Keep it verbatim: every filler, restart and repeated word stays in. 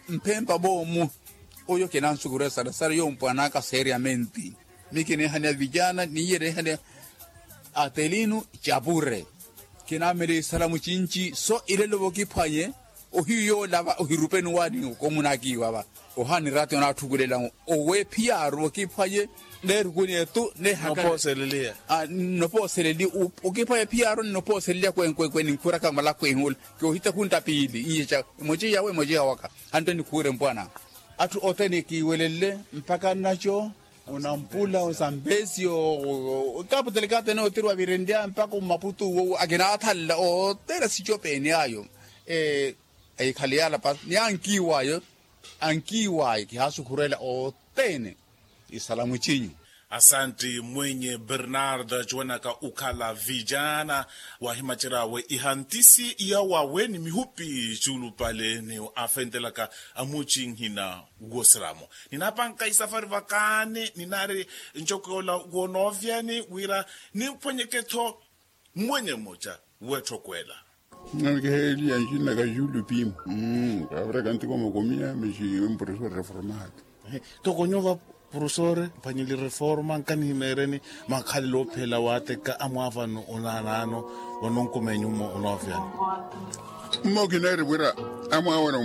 Mphempa boomu. Oyo kinansukurya sarasara yo mpwan'aka seeriyamenti. Mi kineehani avijaana niiye neehani atelinu. Capure kinaamela isalamu cinci so ilelo vokiphwanye. Ohiyu yoolava ohirupeni waani okomunaakiiwa va ohaani raati onaathukulela owe phiyaaru vokiphwanye. Neerukuni etu neehaka nopooseleliya. Nopooseleliya okiphwanye phiyaaru nopooseleliya kwenkwenkwe ninkhuraka malakwehi ole. Kiohita khuntta piili iye ca emoce yawe emoce yawaka. Hantte nikhuure mpwana atthu othene kiiwelelle mpakha nnaco. Onampula osambesi okaputelekatene otiri wavirenrya mpakha omaputu wo akinathalela othene sicopeeni ayo. Eyikhale yalapa ni ankiiwayo ankiiwayo kihaasukhurela othene. Isalamu cinyu. Asanti mwenye bernardo acuwanaka ukhala vijana wahimaceryawe ihantisi yawawe ni mihupi culupale ni afentelaka amucinhina. Wosiramo ninapanka isafari vakaani ninaari ncokoola wonoovyani wira nimphwenyeke-tho. Mmwenye mmoca wetthokweela. Nkiheeliya ncinaka julu pimu. Kaviraka ntiko makomiya mixi mprofesori reformado. Toko nyuva profesori mphwanyeli reforma nkanihimeereni makhalelo ophela waateka amwaavano onaanaano. Vanonkumenyu mmo onoofyani. Mmo kineeri wira amwaavano